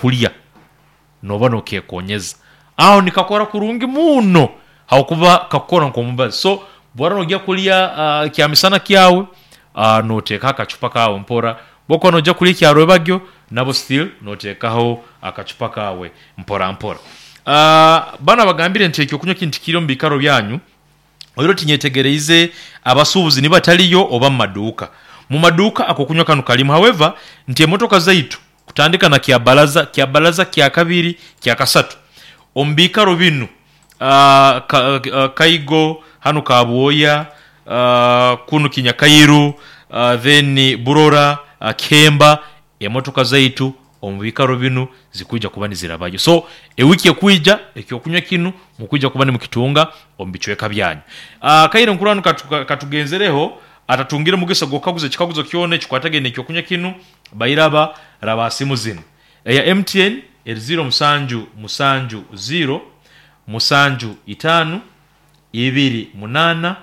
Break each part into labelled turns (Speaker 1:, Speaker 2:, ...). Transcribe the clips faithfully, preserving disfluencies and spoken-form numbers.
Speaker 1: Kulya noba nokekonyeza aho nikakora kurungi muno, habwokuba kakukora nk'omubazi. So bwora nojya kulya uh, kyamisana kyawe, uh, noteekaho akacupa kawe mpora. Bwokuba nojya kulya ekyarwebagyo, nabo still noteekaho akacupa kawe mpora mpora. uh, bana bagambire nti ekyokunywa kinu tikiri omu biikaro byanyu. Oiro tinyetegereize abasuubuzi nibataliyo oba mu maduuka. Mu maduuka akokunywa kanu kalimu. However, nti emotoka zaitu kutandika na Kyabalaza, Kyabalaza kyakabiri, kyakasatu, omu biikaro binu, uh, ka, uh, Kaigo hanu Kabwoya, uh, kunu Kinyakairu, uh, then Burora, uh, Kihemba, emotoka zaitu omu biikaro binu zikwija kuba nizirabayo. So ewiki ekwija ekyokunywa kinu mukwija kuba nimukitunga omu bicweka byanyu. uh, kaire nkurora nu katugenzereho, atatungire mugisa gw'okukaguza ekikaguzo kyona ekikwatagaine n'ekyokunywa kinu, bairaba raba simu zinu. Eya M T N eri ziro musanju musanju ziro musanju itaano ibiri munaana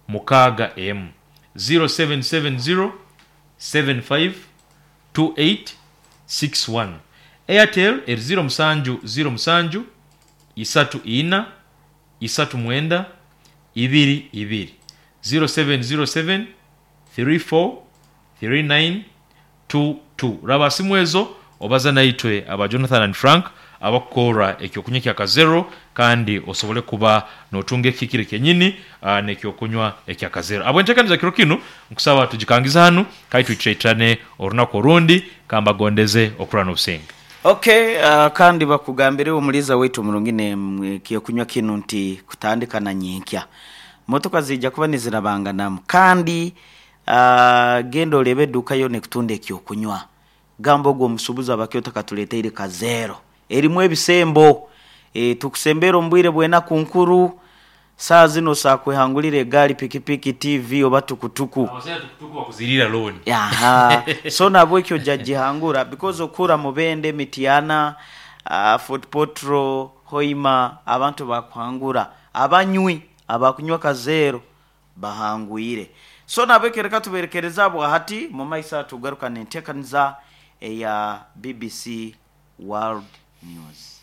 Speaker 1: mukaaga emu, ziro seven seven zero seven five two eight six one. Airtel eri ziro musanju ziro musanju isatu ina isatu mwenda ibiri ibiri, ziro seven zero seven three four three nine two two. Raba simu ezo obaza naitwe aba Jonathan and Frank abakukora ekyokunywa kya Kazero, kandi osobole kuba notunga ekihikire kyenyini uh, n'ekyokunywa ekya Kazero. Abwentekaniza kiro kinu nkusaba tugikangiza hanu, kandi twicaitirane orunaku orundi. Kambagondeze okurana obusinge.
Speaker 2: Okay, uh, kandi bakugambire omuliza waitu omurungi ne ekyokunywa kinu nti kutandika na nyenkya motoka zijja kuba nizirabanganamu. Kandi uh, genda orebe eduka yo nekutunda ekyokunywa, gamba ogwo omusubuzi abakyoto katuleteire Kazero erimu ebisembo. e, tukusembera omu bwire bwenaku nkuru. Saa zino sakwehangulira egaali, pikipiki, T V oba tukutuku.
Speaker 1: Bakuzirira loan.
Speaker 2: Aha, so nabwekyo ojja gihangura because okura Mubende, Mityana, uh, Fort Portal, Hoima, abantu bakuhangura, abanywi abakunywa Kazero bahangwire. So nabwekyo reka tuberekereza bwahati, mu maiso tugaruka nentekaniza eya B B C World News.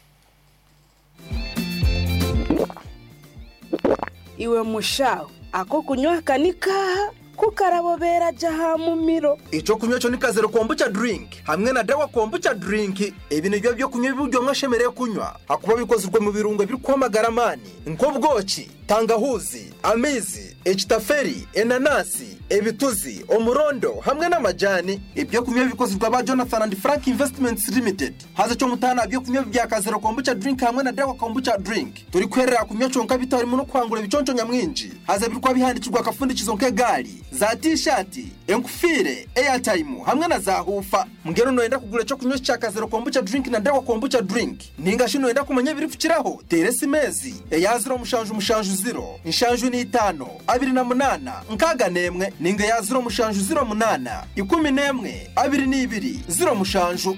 Speaker 3: Iwe mushaho, ako kunywa kanikaha kukarabobera ja ha mumiro.
Speaker 4: Icyo kunywa cyo ni Kazero Kombucha drink hamwe na Dawa Kombucha drink. Ibi nibyo byo kunywa ibyo umwe ashemereye kunywa, hakuba bikozwe mu birungo biri kwamagara amani nk'ubwoki, tangahuzi, amizi, ekitaferi, enanasi, ebituzi, omurondo hamwe n'amajani. Ibyo kunywa bikozwe aba Jonathan and Frank Investments Limited. Haza cyo mutana byo kunywa bya Kazero Kombucha drink hamwe na Dawa Kombucha drink turi kwerera kunywa conka bitarimo no kwangura ibiconco nyamwinji. Haza birikwa bihandikirwa akafundikizo nk'egali za T-shirt, enkufire, airtime hamwe na za hufa. Mbwenu noyenda kugura icyo kunywa cya Kazero Kombucha drink na Dawa Kombucha drink, ninga shi noyenda kumenya ibiri kukiraho, tere simezi eya ziro mushanju mushanju ziro inshanju ni itano abiri na munana nkaga nemwe, ninga ya ziro mushanju ziro munana ikumi nemwe abiri n'ibiri ziro mushanju.